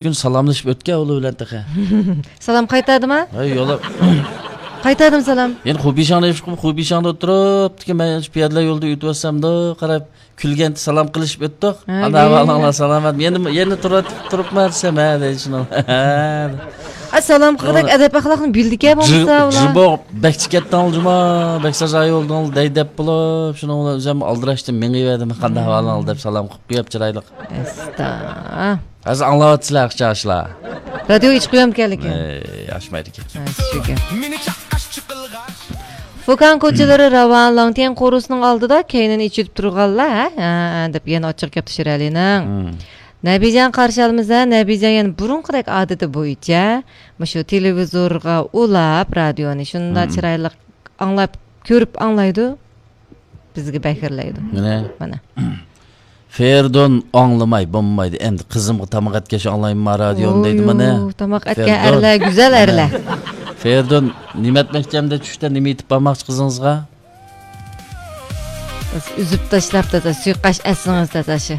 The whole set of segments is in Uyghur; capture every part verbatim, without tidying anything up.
كۈن سالاملىشىپ ئۆتكەن ئۇلار بىلەن تېخى. سالام قايتاردىما؟ ھەي، يوللاپ. قايتاردىمۇ سالام؟ يەنە خۇبىشاڭدا يۈرۈپ، خۇبىشاڭدا ئولتۇرۇپتىكى، مەن شۇ پىيادىلەر يولىدا ئۆتۈۋاتسامدۇ، قاراپ كۈلگەن، سالام قىلىشىپ ئۆتتۇق. ھەي. ئانا ئەھۋالىڭلار سالامەتمۇ؟ يەنە، يەنە تۇرۇپ، تۇرۇپمەن دېسەم، ھە دەيدۇ شۇنىڭ. ئا، سالام قىلغۇدەك ئەدەپ ئەخلاقنى بىلىدىكەن بولمىسا ئۇلار. جىبو، بەك چىكەتتىڭلار جۇما، بەك سازا يولدىڭلار دەي دەپ بولۇپ، شۇنىڭ بىلەن ئۆزۈم ئالدىراشتىم، مېڭىۋەردىم، قانداق ئەھۋالىڭلار دەپ سالام قىلىپ قويۇپ چىرايلىق. ئەستا. ھازىر ئاڭلاۋاتىسىلەر، قىچاشلار. رادىيو ئېچىپ قويامدىكەنلىكىن. ئەي، ئاچمايدىكەن. ھە، شۇ گەپ. فۇكاڭ كوچىلىرى راۋان، لاڭتيەن قورۇسىنىڭ ئالدىدا كەينىنى ئېچىلىپ تۇرغانلار، ھە، ھە، ھە، دەپ يەنە ئاچچىق گەپتە شىرئەلىنىڭ. مم. نەبىجان قارشى ئالمىسا، نەبىجان يەنە بۇرۇنقىدەك ئادىتى بويىچە مۇشۇ تېلېۋىزورغا ئۇلاپ، رادىيونى شۇنداق مم. چىرايلىق ئاڭلاپ، كۆرۈپ ئاڭلايدۇ. بىزگە بەكرىلەيدۇ. مانا. مانا. فېرىدۇن ئاڭلىماي بولمايدۇ. ئەمدى قىزىمغا تاماق ئەتكەچ ئاڭلايمەن رادىيونى دەيدۇ مانا. ئويۇ، تاماق ئەتكەن فېرىدۇن. ئەرلەر گۈزەل ئەرلەر. فېرىدۇن، نېمە ئەتمەكچى ئەمدى چۈشتە نېمە ئېتىپ بارماقچى قىزىڭىزغا؟ ئۈزۈپ تاشلاپ تازا، سۇيۇقئاش ئەتسىڭىز تازا شۇ.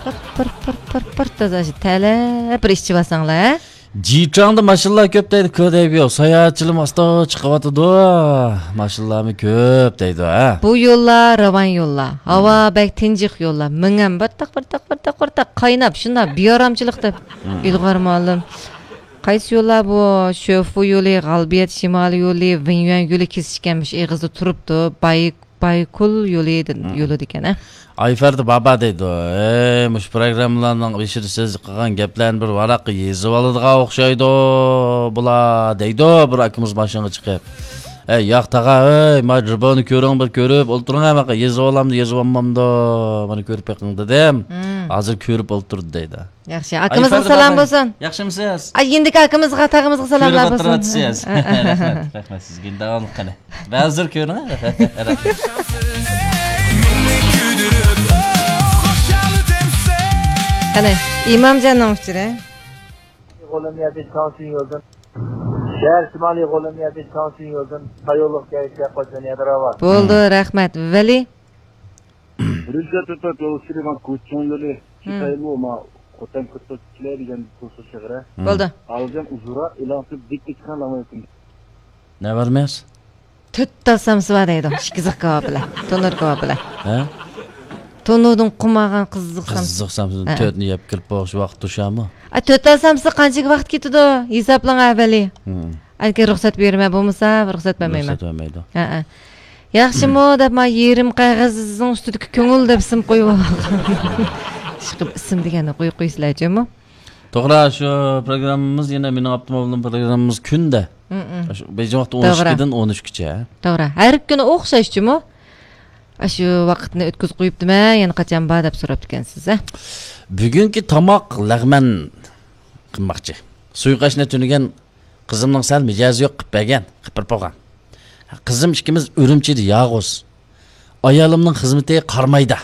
پىر، پىر، پىر، پىر، پىر تازا شۇ. تەلەپ بىر ئىچىۋالساڭلار، ھە؟ جىچاڭدا ماشىنىلار كۆپ دەيدۇ، كۆدەيبىيو. ساياھەتچىلىرىمۇ ئاستا چىقىۋاتىدۇ. ماشىنىلارمۇ كۆپ دەيدۇ، ھە؟ بۇ يوللار راۋان يوللار. ھاۋا بەك تىنچىق يوللار. مېڭەم بىر تاق، بىر تاق، بىر تاق، بىر تاق قايناپ، شۇنداق بىئارامچىلىق دەپ. مم. ئىلغار مۇئەللىم. قايسى يوللار بۇ؟ شۆفۇ يولى، غالبىيەت شىمالىي يولى، ۋېنيۈەن يولى كېسىشكەن مۇشۇ ئېغىزدا تۇرۇپتۇ. باي بايكول يولى، مم. يولىدىكەن، ھە؟ ئايفەردى بابا دەيدۇ، ھەي، مۇشۇ پروگراممىلارنىڭ بېشىدا سىز قىلغان گەپلەرنى بىر ۋاراققا يېزىۋالىدىغان ئوخشايدۇ بۇلار، دەيدۇ بىر ئاكىمىز ماشىنىغا چىقىپ. ھەي، ياق تاغا، ھەي، ما جىبونى كۆرۈڭ، بىر كۆرۈپ ئولتۇرۇڭ، ھە، ماقا يېزىۋالامدۇ، يېزىۋالمامدۇ، مانا كۆرۈپ بېقىڭ دېدىم. مم. ھازىر كۆرۈپ ئولتۇردى دەيدۇ. ياخشى، ئاكىمىزغا سالام بولسۇن. ياخشىمۇسىز؟ ئاي، يېنىدىكى ئاكىمىزغا، تاغىمىزغا سالاملار بولسۇن. كۆرۈپ ئولتۇرۇۋاتىسىز. ھە، ھە، ھە. رەھمەت، رەھمەت سىزگە. داۋاملىق قېنى. بەزىلەر كۆرۈڭ. رەھمەت. قېنى، ئىمامجاننىڭ ئۇچۇرى. غولوميەدە چاڭسىن يولدىن. شەھەر شىمالىي غولوميەدە چاڭسىن يولدىن. سايولۇق كەيسىيە قوچان يادراۋات. بولدى، رەھمەت. ۋەلى. رۈزگار تۆتتە يول سۈرۈي ماڭا كوچىڭ يولى، ھىم. شىتايلۇ ما خوتەن كۆتۈرۈپ كېلەي دېگەن توسۇش شەھىرە. ھىم. بولدى. ئالجان ئۇزۇرا ئېلان سۈرۈپ دىك دىك چىققان لامايتىم. نە بار مەس؟ تۆت تال سامسا بار دەيدۇ، ئىككى قىزىق كاۋاپ بىلەن، تونۇر كاۋاپ بىلەن. ھە؟ تونۇردىن قۇمالغان قىزىق سامسا. قىزىق سامسا، ھە. تۆتنى يەپ كىرىپ بولۇش ۋاقىت توشامۇ؟ ئا، تۆت تال سامسا قانچىگە ۋاقىت كېتىدۇ؟ ھېسابلاڭ ئەۋەلى. ھىم. ئەنكەي رۇخسەت بېرىمەن، بولمىسا رۇخسەت بەرمەيمەن. رۇخسەت بەرمەيدۇ. ھەئە. ياخشىمۇ دەپ، ما يېرىم قەغەزنىڭ ئۈستىدىكى كۆڭۈل دەپ ئىسىم قويۇۋالغان. ئىشقىلىپ ئىسىم دېگەننى قويۇپ قويىسىلەر جۇمۇ. توغرا، شۇ پروگراممىمىز يەنە مېنىڭ ئاپتوموبىلىم پروگراممىمىز كۈندە. مم. شۇ بېيجىڭ ۋاقتى ئون ئىككىدىن ئون ئۈچكىچە. توغرا. ھەر كۈنى ئوخشاش جۇمۇ. ئاشۇ ۋاقىتنى ئۆتكۈزۈپ قويۇپتىمەن، يەنە قاچان بار دەپ سوراپتىكەنسىز، ھە؟ بۈگۈنكى تاماق لەغمەن قىلماقچى. سۇيۇقئاشنى تۈنۈگۈن قىزىمنىڭ سەل مىجەزى يوق قىلىپ بەرگەن، قىپىر بولغان. قىزىم ئىككىمىز ئۈرۈمچىدە يالغۇز. ئايالىمنىڭ خىزمىتى قارامايدا.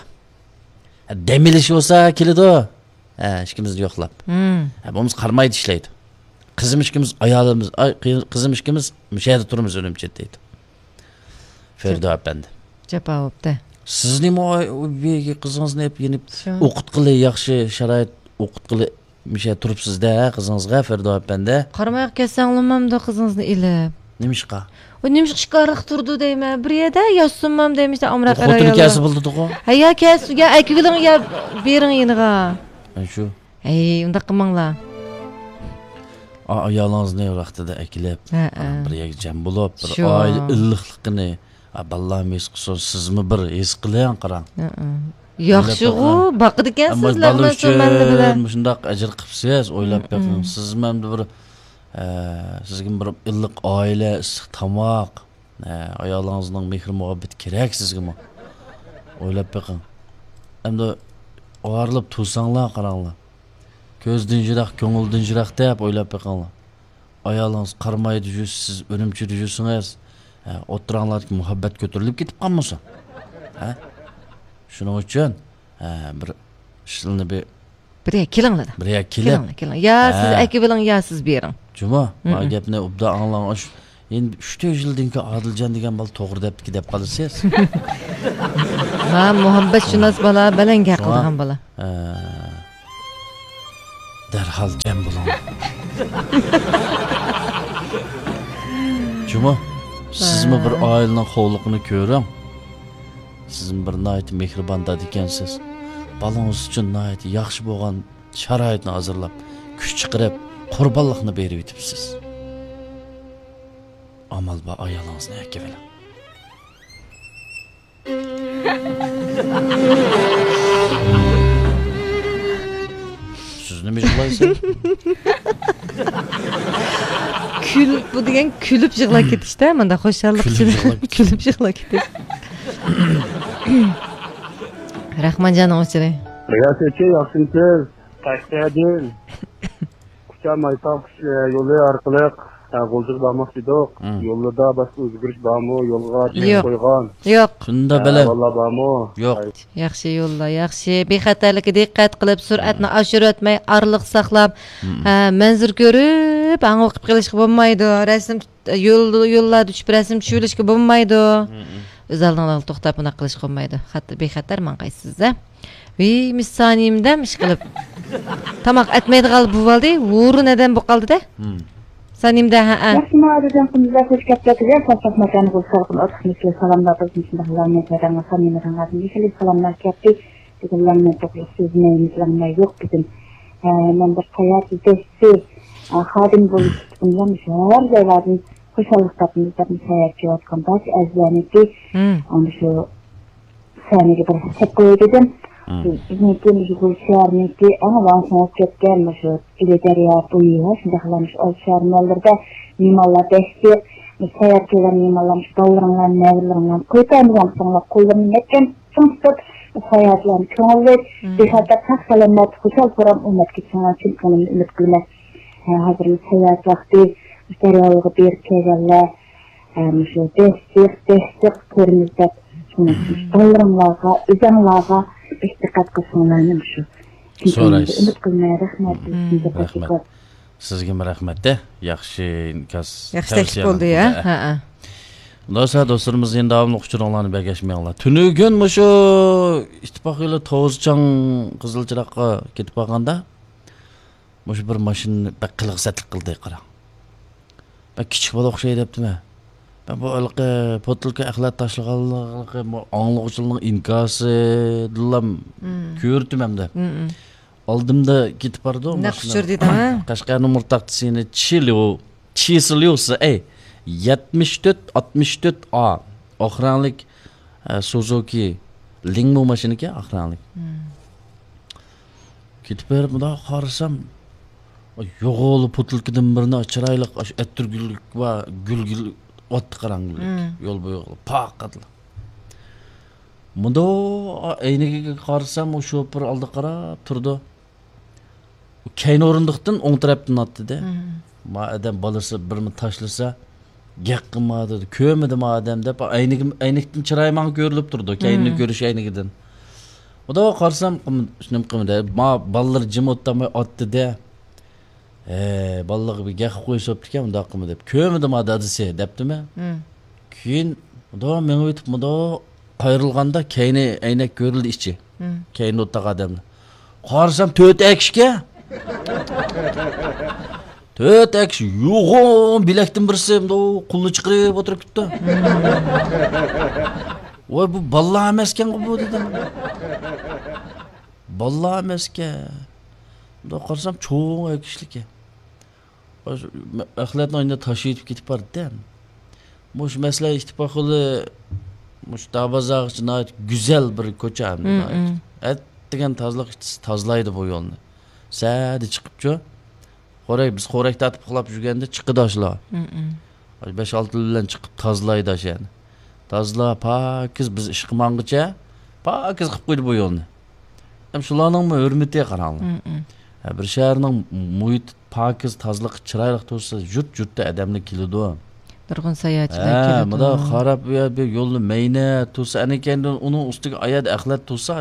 دەم ئېلىشى بولسا كېلىدۇ. ھە، ئىككىمىزنى يوقلاپ. مم. ھە، بولمىسا قارامايدا ئىشلەيدۇ. قىزىم ئىككىمىز ئايالىمىز، ئاي، قىز-، قىزىم ئىككىمىز مۇشۇ يەردە تۇرىمىز ئۈرۈمچىدە دەيدۇ. فېرىدو ئەپەندى. جاپا بوپتۇ. سىز نېمە ئاي-، ئۇ بىر قىزىڭىزنى ئېلىپ يېنىپ شۇ. ئوقۇتقىلى ياخشى شارائىت ئوقۇتقىلى مۇشۇ يەردە تۇرۇپسىز-دە قىزىڭىزغا فېرىدو ئەپەندى. قارىمايغا كەتسەڭلىمامدۇ قىزىڭىزنى ئېلىپ؟ نېمىشقا؟ ئۇ نېمىشقا ئىشكارلىق تۇرىدۇ دەيمەن. بىر يەردە ياتسۇنمام دەيمىز ئامراق ئەر ئاياللار. خوتۇن كەلسە بولىدىغۇ. ھە، يا كەلسۇن، يا ئەكىۋېلىڭ، يا بېرىڭ يېنىغا. ھە، شۇ. ھەي، ئۇنداق قىلماڭلار. ئا-، ئايالىڭىزنى ۋاقتىدا ئەكېلىپ، ھە، ھە. بىر يەرگە جەم بولۇپ، بىر شۇ. ئائىلە ئىللىقلىقىنى، ئا، بالىلارمۇ ھېس قىلسۇن، سىزمۇ بىر ھېس قىلىڭ، قاراڭ. ھە، ھە. ياخشىغۇ، باقىدىكەنسىز، ئەمما بالىلار ئۈچۈن مۇشۇنداق ئەجىر قىپسىز، ئويلاپ بېقىڭ. سىزمۇ ئەمدى بىر، ئە، سىزگىمۇ بىر ئىللىق ئائىلە، ئىسسىق تاماق، ئە، ئايالىڭىزنىڭ مېھرى مۇھەببىتى كېرەك سىزگىمۇ. ئويلاپ بېقىڭ. ئەمدى ئايرىلىپ تۇرساڭلار، قاراڭلار. كۆز دىنجىراق، كۆڭۈل دىنجىراق دەپ ئويلاپ بېقىڭلار. ئايالىڭىز قارامايدا يۈرسە، سىز ئۈرۈمچىدە يۈرسىڭىز، ھە، ئوتتۇراڭلاردىكى مۇھەببەت كۆتۈرۈلۈپ كېتىپ قالمىسۇن؟ ھە؟ شۇنىڭ ئۈچۈن، ھە، بىر ئىشلارنى بىر بىر يەرگە كېلىڭلار. بىر يەرگە كېلىپ. كېلىڭلار، كېلىڭ. يا سىز ھە. ئەكىۋېلىڭ، يا سىز بېرىڭ. جۇمۇ، مم. ما گەپنى ئوبدان ئاڭلاڭ. ئاش-، ئەمدى ئۈچ تۆت يىلدىن كېيىن ئادىلجان دېگەن بالا توغرا دەپتىكى دەپ قالىسىز. ھە، مۇھەببەتشۇناس بالا، بەلەن گەپ شۇڭا، قىلىدىغان بالا. ھە. دەرھال جەم بولۇڭ. جۇمۇ، سىزمۇ بىر ئائىلىنىڭ خوۋلۇقىنى كۆرۈڭ. سىزمۇ بىر ناھايىتى مېھرىبان دادا ئىكەنسىز. بالىڭىز ئۈچۈن ناھايىتى ياخشى بولغان شارائىتنى ھازىرلاپ، كۈچ چىقىرىپ، قۇربانلىقنى بېرىۋېتىپسىز. ئامال بار، ئايالىڭىزنى ئەكىۋېلىڭ. سىز نېمە يىغلايسىز؟ كۈل، بۇ دېگەن كۈلۈپ يىغلاپ كېتىشتە، مانداق خۇشاللىق كۈلۈپ ئىچىدە يىغلاپ كېتىش. كۈلۈپ يىغلاپ كېتىش. راخمانجاننىڭ ئۇچۇرى. رىياسەتچى، ياخشىمۇسىز؟ قەشقەردىن كۇچا مايتاغ يولى ئارقىلىق، ئە، غۇلجىغا بارماقچى ئىدۇق. مم. يولدا باشقا ئۆزگىرىش بارمۇ؟ يولغا چەك يوق. قويغان، يوق. شۇنداق ئە، بەلەم. ئەھۋاللار بارمۇ؟ يوق. ياخشى يوللار، ياخشى. بىخەتەرلىككە دىققەت قىلىپ، سۈرئەتنى ئاشۇرۇۋەتمەي، ئارىلىق ساقلاپ، مم. ھە، مەنزىرە كۆرۈپ، ھاڭۋېقىپ قېلىشقا بولمايدۇ. رەسىم، يول، يوللاردا چۈشۈپ رەسىم چۈشۈۋېلىشكە بولمايدۇ. مم. ئۆز ئالدىڭلارغا توختاپ، بۇنداق قىلىشقا بولمايدۇ. خەتەر، بىخەتەر ماڭغايسىز، ھە. ۋىي، مىس سانىيەمدە ئىشقىلىپ. تاماق ئەتمەيدىغان بولۇۋالدى، ھۇرۇن ئادەم بولۇپ قالدى-دە. مم. سانىيەمدە، ھەئە. ياخشىمۇ، ئادىلجان قۇمۇلدا خۇش كەپتىكىز، ساقلاق ماكانى بولسا سالقىن ئوتلۇق مىسلى سالاملار بولسۇن، شۇنداق لامنى تەدەڭ سانىيەمدىن ئادىم يېشىل سالاملار كەپتى. بۈگۈن لامنى توغرىلىق سۆزلىمەيمىز، لامنى يوق بۈگۈن. ھە، مەن بىر ساياھەت يېتەكچىسى، ئە، خادىم بولۇش ئۈچۈن شەھەر جايلاردىن خۇشاللىق تاپىمىز دەپ ساياھەت قىلىۋاتقان بارچە ئەزىزلەرنىڭكى، مم. ئەمدى شۇ سەھنىگە بىر سەپ قوياي دېدىم. مم. بىزنىڭكى مۇشۇ بۇ شەھەرنىڭكى ئەڭ ۋاڭ سوڭۇپ كەتكەن مۇشۇ ئىلى دەريا بويى ۋە شۇنداقلا مۇشۇ ئالدى شەھەر ماللىرىدا مېھمانلار بەك جىق. مۇشۇ ساياھەت كەلگەن مېھمانلار مۇشۇ بالىلىرىڭلار، نەۋرىلىرىڭلارنى قويۇپ بەرمىگەن بولساڭلار، قوللىرىنى مەھكەم چىڭ تۇتۇپ، ساياھەتلەرنى كۆڭۈللۈك، مم. بىخەتەر، ساق سالامەت، خۇشال خۇرام ئۇ مەتكە چىڭىڭلار، چىن كۆڭلۈمدىن ئۈمىد قىلىمەن. ھە، ھازىر ساياھەت ۋاقتى، دەرياغا بېرىپ كەلگەنلەر، ھە، مۇشۇ بەك جىق، بەك جىق كۆرىمىز دەپ، شۇنىڭ ئۈچۈن مم. بالىلىرىڭلارغا، ئۆزۈڭلارغا بەك دىققەت قىلساڭلارنى مۇشۇ چىن كۆڭلۈمدىن سورايسىز. ئۈمىد قىلىمەن. رەھمەت. مم. رەھمەت. سىزگىمۇ رەھمەت-دە. ياخشى ئىنكاس، ياخشى تەكلىپ تەۋسىيە بولدى، يا؟ ھە، ھە. دوستلار، دوستلىرىمىز يەنە داۋاملىق ئۇچۇرۇڭلارنى بەرگەشمەيڭلار. تۈنۈگۈن مۇشۇ ئىتتىپاق يولى توزىچاڭ قىزىل چىراغقا كېتىپ بارغاندا، مۇشۇ بىر ماشىنا بەك قىلىق سەتلىك قىلدى، قاراڭ. بەك كىچىك بالا ئوخشايدۇ دەپتىمەن. مەن بۇ ھېلىقى پوتۇلكا ئەخلەت تاشلىغانلىقى، بۇ ئاڭلىغۇچىلارنىڭ ئىنكاسىدىنلا مم. كۆرۈتتۈم ئەمدى. مم، مم. ئالدىمدا كېتىپ بارىدۇ نەق ماشىنا. ئۇچۇر دېدىڭ، ھە؟ قەشقەرنىڭ نومۇر تاختىسى چىليۇ، چىسليۇسى، ئەي، يەتمىش تۆت ئاتمىش تۆت ئا. ئاق رەڭلىك، ئە، سۇزۇكى لىڭمۇ ماشىنىكەن، ئاق رەڭلىك. مم. كېتىپ بېرىپ مۇنداق قارىسام، يوغىلا پوتۇلكىدىن بىرنى چىرايلىق، ئاشۇ ئەتىر گۈللۈك بار، گۈل، گۈل ئوتتى قاراڭغۇلۇك. مم. يول بويىغا پاقاتلا. مۇنداق ئەينىكىگە قارىسام، ئۇ شوپۇر ئالدىغا قاراپ تۇرىدۇ. كەينى ئورۇندۇقتىن ئوڭ تەرەپتىن ئاتتى-دە. مم. ما ئادەم بالىسى بىرنى تاشلىسا، گەپ قىلما دېدى. كۆرمىدى ما ئادەم دەپ، ئەينىكىم-، ئەينىكتىن چىرايى ماڭا كۆرۈلۈپ تۇرىدۇ. كەينىنى مم. كۆرۈش ئەينىكىدىن. ئۇدا قارىسام، قىم-، نېمە قىلمىدى. ما بالىلىرى جىم ئولتۇرماي ئاتتى-دە. ھە، بالىلارغا بىر گەپ قويسا بوپتىكەن، ئۇنداق قىلما دەپ. كۆرمىدى ما دادىسى، دەپتىمەن. مم. كېيىن مۇنداق مېڭىۋېتىپ، مۇنداق قايرىلغاندا، كەينى ئەينەك كۆرۈلدى ئىچى. مم. كەينىدە ئولتۇرغان ئادەملەر. قارىسام، تۆت ئەكىشكەن. تۆت ئەكىش يوغان بىلەكتىن بىرسى مۇنداق قولىنى چىقىرىپ ئولتۇرۇپ كېتىپتۇ. مم. ۋاي، بۇ بالىلار ئەمەسكەنغۇ بۇ، دېدىم. بالىلار ئەمەسكەن. مۇنداق قارىسام، چوڭ ئەكىشلىككەن. ئەخلەتنى ئاينى تاشلىۋېتىپ كېتىپ بارىدىكەن. مۇشۇ مەسىلە ئىتتىپاق يولى، مۇشۇ داربازارغىچە ناھايىتى گۈزەل بىر كوچا ئەمدى مم، ناھايىتى. مم. ئەتىگەن تازىلىق ئىشچىسى تازىلايدۇ بۇ يولنى. سەدە چىقىپچۇ. خورەك، بىز خورەك تارتىپ ئۇخلاپ يۈرگەندە چىقىدۇ ئاشۇلار. مم، مم. بەش-ئالتە بىلەن چىقىپ تازىلايدۇ ئاشۇ يەرنى. تازىلاپ، پاكىز بىز ئىشقا ماڭغىچە پاكىز قىلىپ قويدى بۇ يولنى. ھەم شۇلارنىڭمۇ ھۆرمىتى قاراڭلار. مم، مم. ھە، بىر شەھەرنىڭ مۇھىتى پاكىز، تازىلىقى چىرايلىق تۇرسا، يۇرت-يۇرتتا ئادەملەر كېلىدۇ. نۇرغۇن ساياھەتچىلەر ھە، كېلىدۇ. مۇنداق قاراپ، يا بىر يولنى مەينەت تۇرسا، ئەنە كەينىدىن ئۇنىڭ ئۈستىگە ئاياد ئەخلەت تۇرسا،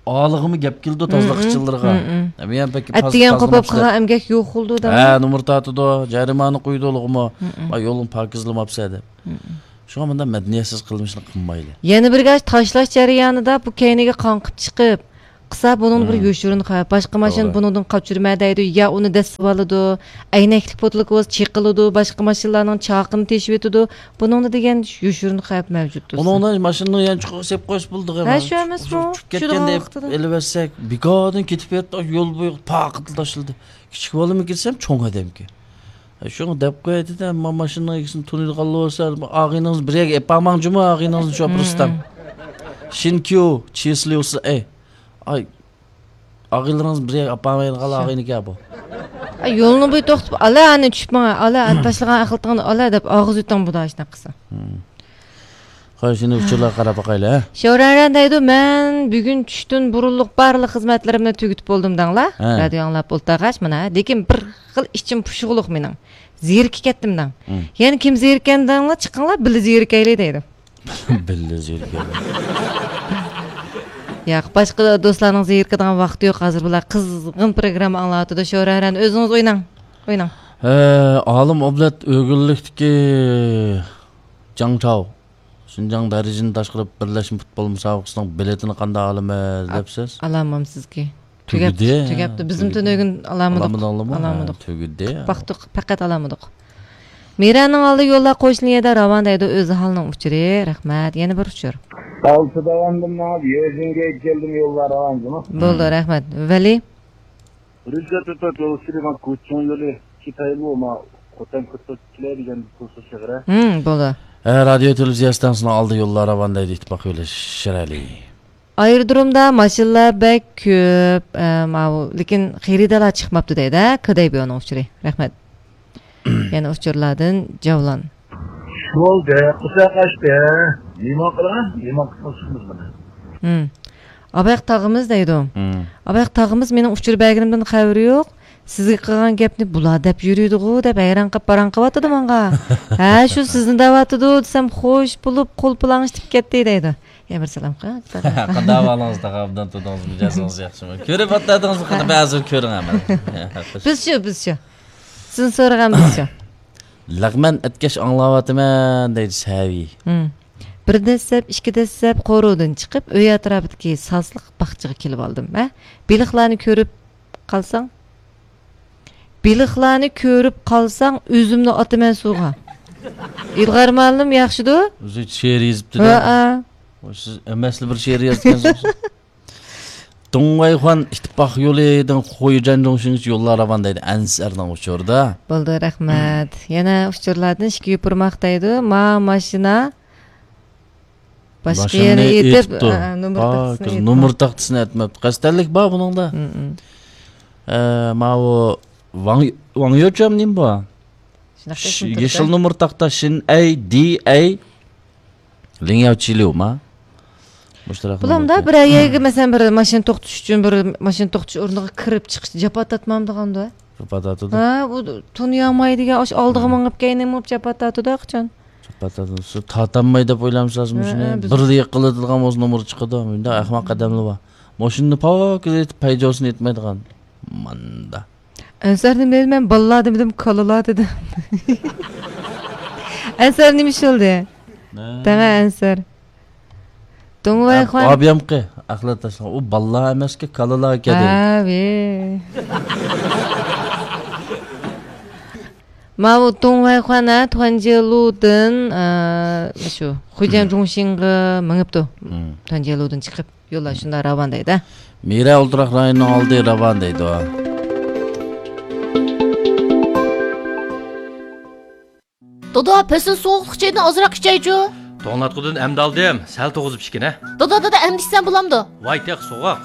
ئالىغىمۇ گەپ كېلىدۇ مم، تازىلىقچىلىرغا. مم، مم. ھە، مېنىڭ پەكى پاز-، ئەتىگەن قوپۇپ تازىلىماپسىلەر. قالغان ئەمگەك يوق بولىدۇ، ھە، دەڭمۇ؟ نومۇر تارتىدۇ، جەرىمانە قويىدۇ ئۇلىغىمۇ. مم، مم. ۋاي، يولنى پاكىزلىماپسەن دەپ. مم، مم. شۇڭا مۇنداق مەدەنىيەتسىز قىلمىشنى قىلمايلى. يەنە بىر گەپ، تاشلاش جەريانىدا بۇ كەينىگە قاڭقىپ چىقىپ، قىلسا، بۇنىڭدا بىر يوشۇرۇن خەۋپ. باشقا ماشىنا بۇنىڭدىن قاچۇرمە دەيدۇ، يا ئۇنى دەسسىۋالىدۇ، ئەينەكلىك پوتۇلكا بولسا چېقىلىدۇ، باشقا ماشىنىلارنىڭ چاقىنى تېشىۋېتىدۇ. بۇنىڭدا دېگەن يوشۇرۇن خەۋپ مەۋجۇت تۇرسا. ئۇنىڭدا ماشىنىنى يانچۇقىغا سېلىپ قويسا بولىدىغۇ. ھە، شۇ ئەمەسمۇ؟ چۈشۈپ كەتكەن دەپ ئېلىۋەتسەك، بىكاردىن كېتىپ بېرىپتۇ، يول بويىغا پاقىدىلا تاشلىدى. كىچىك بالىمۇ كېتسەم، چوڭ ئادەمكەن. شۇڭا دەپ قوياي دېدى، ئەمما ماشىنىنىڭ ئىگىسىنى تونۇيدىغانلار بولسا، ئاغىنىڭىز بىر يەرگە ئېپارماڭ جۇمۇ، ئاغىنىڭىزنى شوپۇرىستان. شىنكيۇ، چېسليۇسى، ئەي. ئاي، ئاغىنىلىرىڭىز بىر يەرگە ئاپارمايدىغان ئاغىنىكەن بۇ. ئاي، يولنىڭ بويىدا توختاپ، ئالا، ئەنە چۈشۈپ ماڭا، ئالا، ئەنە تاشلىغان ئەخلىتىڭنى ئالا دەپ ئاغزى ئۆتۈڭ بۇدا ئاشۇنداق قىلسا. خوش، ئەمدى ئۇچۇرلارغا قاراپ باقايلى، ھە؟ شورارەن دەيدۇ، مەن بۈگۈن چۈشتىن بۇرۇنلۇق بارلىق خىزمەتلىرىمنى تۈگىتىپ بولدۇم دەڭلار. ھە. رادىيو ئاڭلاپ ئولتۇرغاچ مانا، لېكىن بىر خىل ئىچىم پۇشۇقلۇق مېنىڭ. زېرىكىپ كەتتىم دەڭ. يەنە كىم زېرىككەن دەڭلار، چىقىڭلار، بىللە زېرىكەيلى دەيدۇ. بىللە زېرىكەيلى. ياق، باشقا دوستلارنىڭ زېرىكىدىغان ۋاقتى يوق ھازىر، بۇلار قىزغىن پروگرامما ئاڭلاۋاتىدۇ. شورارەن، ئۆزىڭىز ئويناڭ، ئويناڭ. ھە، ئالىم ئابلەت ئۆگۈنلۈكتىكى جاڭ چاۋ. شىنجاڭ دەرىجىدىن تاشقىرى بىرلەشمە پۇتبول مۇسابىقىسىنىڭ بىلېتىنى قانداق ئالىمىز دەپسىز؟ ئالالمامسىزكى. تۈگەپتۇ، تۈگەپتۇ. بىزمۇ تۈنۈگۈن ئالالمىدۇق. ئالالمىدىڭلارمۇ؟ ئالالمىدۇق. ھە، تۈگىدى. باقتۇق، پەقەت ئالالمىدۇق. مىرانىڭ ئالدى يوللار قوشنا يەردە راۋان دەيدۇ، ئۆز ئاھالىنىڭ ئۇچۇرى. رەھمەت. يەنە بىر ئۇچۇر. ئالتە داۋاندىن ماڭىپ، يېزىنگە كەلدىم، يوللار راۋان جۇمۇ. بولدى، رەھمەت. ۋەلى. رۈزگار تۆتەت يول ئۈستىدە مانا كوچىڭ يولى كىتايلۇ ما خوتەن كۆتۈرتكىلەر دېگەن بۇ شېغىرە. ھىم، بولدى. ھە، رادىيو تېلېۋىزىيە ئىستانسىسىنىڭ ئالدى يوللار راۋان دەيدۇ، ئىتتىپاق يولى شىرئەلى. ئايرودرومدا ماشىنىلار بەك كۆپ، ئە، ماۋۇ، لېكىن خېرىدارلار چىقماپتۇ دەيدۇ، ھە، كېدەي بۇ ئۇنىڭ ئۇچۇرى. رەھمەت. يەنە ئۇچۇرلاردىن جەۋلان. بولدى، قىسا قاچتى. نېمە قىلا؟ نېمە قىلسىمىز بۇنى؟ ھىم. ئاباق تاغىمىز دەيدۇ. ھىم. ئاباق تاغىمىز مېنىڭ ئۇچۇر بەرگىنىمدىن خەۋىرى يوق. سىزگە قىلغان گەپنى بۇلار دەپ يۈرىدىغۇ دەپ ھەيران قېلىپ پاراڭ قىلىۋاتىدۇ ماڭا. ھە، شۇ سىزنى دەۋاتىدۇ دېسەم خوش بولۇپ قول پۇلاڭ ئىشلىتىپ كەتتى دەيدۇ. يا بىر سالام قىل. قانداق ئەھۋالىڭىز تاغا، ئابدان تۇردىڭىزمۇ، مىجەزىڭىز ياخشىمۇ؟ كۆرۈپ ئاتلايدىڭىزمۇ؟ قېنى بىر ھازىر كۆرۈڭ ھەممىنى. بىزچۇ، بىزچۇ. سىزنى سورىغان بىزچۇ. لەغمەن ئەتكەچ ئاڭلاۋاتىمەن دەيدۇ سەۋى. ھىم. بىر دەسسەپ، ئىككى دەسسەپ قورۇدىن چىقىپ، ئۆي ئەتراپىدىكى ساسلىق باغچىغا كېلىۋالدىم. ھە؟ بېلىقلارنى كۆرۈپ قالساڭ، بېلىقلارنى كۆرۈپ قالساڭ، ئۆزۈمنى ئاتىمەن سۇغا. ئىلغار مۇئەللىم ياخشىدۇ؟ ئۆزى شېئىر يېزىپتۇ-دە. ھەئە. سىز ئەمەسلا بىر شېئىر يازغانسىز. دۇڭۋەيخۇەن ئىتتىپاق يولىدىن خۇيجەن جۇڭشىنگىچە يوللار راۋان دەيدۇ، ئەنسەرنىڭ ئۇچۇرىدا. بولدى، رەھمەت. يەنە ئۇچۇرلاردىن ئىككى يوپۇرماق دەيدۇ. ما ماشىنا باشقا يەرگە ئېتىپ، ئە، نومۇر تاختىسىنى ئېتىپتۇ. نومۇر تاختىسىنى ئەتمەپتۇ. قەستەنلىك بار بۇنىڭدا. ئە، ماۋۇ ۋاڭ، ۋاڭ يوچام نېمە بۇ؟ يېشىل نومۇر تاختا، شىن ئەي، دى ئەي، لىڭياۋ چىليۇ ما؟ مۇشۇنداق بۇلامدا بىر يەرگە، مەسىلەن، بىر ماشىنا توختىتىش ئۈچۈن بىر ماشىنا توختىتىش ئورنىغا كىرىپ چىقىش جاپا تارتمامدىغاندۇ؟ جاپا تارتىدۇ. ھە، ئۇ تونۇيالمايدىغان، ئاشۇ ئالدىغا مېڭىپ كەينىگە مېڭىپ جاپا تارتىدۇ قاچان؟ جاپا تارتىدۇ. سىز تارتالمايدۇ دەپ ئويلامسىز مۇشۇنى؟ ھە، ھە، بىز بىرلا يىقىلىدىغان بولسا نومۇر چىقىدۇ. مۇنداق ئەخمەق ئادەملەر بار. ماشىنىنى پاكىز ئېتىپ، پەيجوسىنى ئېتمەيدىغان. ماندا. ئەنسەر نېمە دېدى؟ مەن بالىلار دېمىدىم، كالىلار دېدىم. ئەنسەر نېمە ئىش بولدى؟ دەڭە ئەنسەر. دۇڭۋەيخۇەن. ئابىيامقى ئەخلەت تاشلىغان. ئۇ بالىلار ئەمەسكى، كالىلار ئىكەن. ھەۋى. ماۋۇ دۇڭۋەيخۇەن، ھە، تۇەنجيېلۇدىن، ئە، شۇ، خۇيجەن جۇڭشىنغا مېڭىپتۇ. تۇەنجيېلۇدىن چىقىپ. يوللار شۇنداق راۋان دەيدۇ. مىرە ئولتۇراق رايونىنىڭ ئالدى راۋان دەيدۇ. دادا، پەسىل سوغۇقلۇق چېيىدىن ئازراق ئىچەيچۇ. توڭلاتقۇدىن ئەمدى ئالدىم، سەل توغۇزۇپ ئىچكىنە. دادا، دادا، ئەمدى ئىچسەم بولامدۇ؟ ۋاي، تېخى سوغۇق.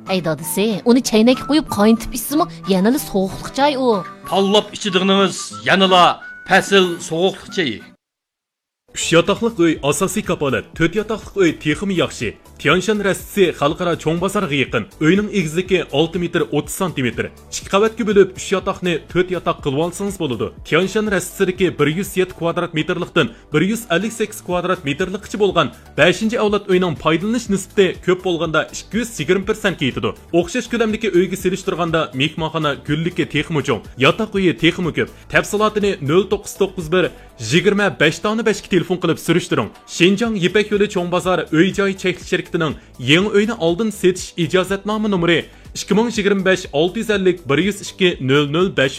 ئەي دادىسى، ئۇنى چەينەككە قۇيۇپ قاينىتىپ ئىچسىمۇ يەنىلا سوغۇقلۇق چاي ئۇ. تاللاپ ئىچىدىغىنىڭىز يەنىلا پەسىل سوغۇقلۇق چېيى. ئۈچ ياتاقلىق ئۆي ئاساسىي كاپالەت، تۆت ياتاقلىق ئۆي تېخىمۇ ياخشى. تيەنشان رەستىسى خەلقئارا چوڭ بازارغا يېقىن. ئۆينىڭ ئېگىزلىكى ئالتە مېتىر ئوتتۇز سانتىمېتىر. ئىككى قەۋەتكە بۆلۈپ، ئۈچ ياتاقنى تۆت ياتاق قىلىۋالسىڭىز بولىدۇ. تيەنشان رەستىسىدىكى بىر يۈز يەتتە كۋادرات مېتىرلىقتىن بىر يۈز ئەللىك سەككىز كۋادرات مېتىرلىققىچە بولغان بەشىنچى ئەۋلاد ئۆينىڭ پايدىلىنىش نىسبىتى كۆپ بولغاندا ئىككى يۈز يىگىرمە پىرسەنتكە يېتىدۇ. ئوخشاش كۆلەمدىكى ئۆيگە سېلىشتۇرغاندا مېھمانخانا گۈللۈكى تېخىمۇ چوڭ، ياتاق ئۆيى تېخىمۇ كۆپ. تەپسىلاتىنى نۆل توققۇز توققۇز بىر يىگىرمە بەش دانە بەشكە تېلېفون قىلىپ سۈرۈشتۈرۈڭ. شىنجاڭ يىپەك يولى چوڭ بازار ئۆي جاي چەكلىك شىركىتىنىڭ يېڭى ئۆينى ئالدىن سېتىش ئىجازەتنامە نومۇرى ئىككى مىڭ يىگىرمە بەش ئالتە يۈز ئەللىك بىر يۈز ئىككى نۆل نۆل بەش يۈز